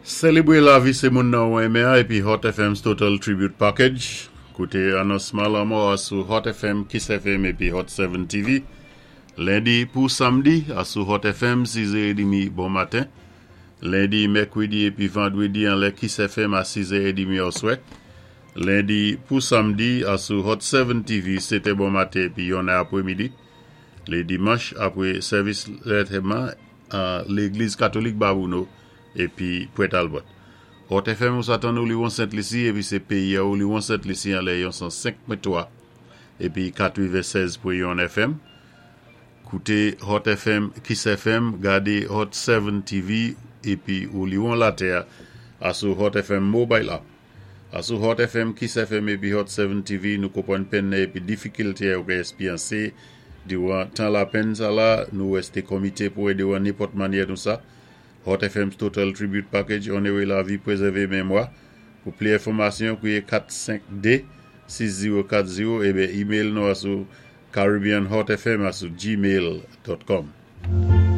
Sélébwé lavi sé moun nan ou enmen an épi Hot FM's Total Tribute Package. Kouté anonsman lanmò a sou Hot FM, Kiss FM épi Hot 7 TV. Lendi pou samdi a sou Hot FM 6 è édmi bon maten. Lendi, mèkwédi épi vandwédi anlè Kiss FM a 6 è édmi oswè. Lendi pou samdi a sou Hot 7 TV 7 è bon maten épi 1 è apwémidi. Lé dimanch apwé sèvis lantèman an Légliz Katolik Babouno épi Pwent Albert. Hot FM ou sa tann ou Liwon Sent Lisi épi sé péyi a ou Liwon Sent Lisi anlè yon 105.3 épi 96.1 FM. Kouté Hot FM, Kiss FM, gadé Hot 7 TV épi ou liwon latè a sou Hot FM Mobile App. A sou Hot FM, Kiss FM épi Hot 7 TV nou konpwann penn nan épi difikilte ou ka èspyansé diwan tan lapenn sa la, nou wèsté komité pou édé ou an nenpòt mannyè nou sa. Hot FM's Total Tribute Package Onoré lavi, pwézèvé mémwa. Pou pli enfòmasyon, kwiyé 452 6040 ébyen email nou a sou caribbeanhotfm a sou gmail.com.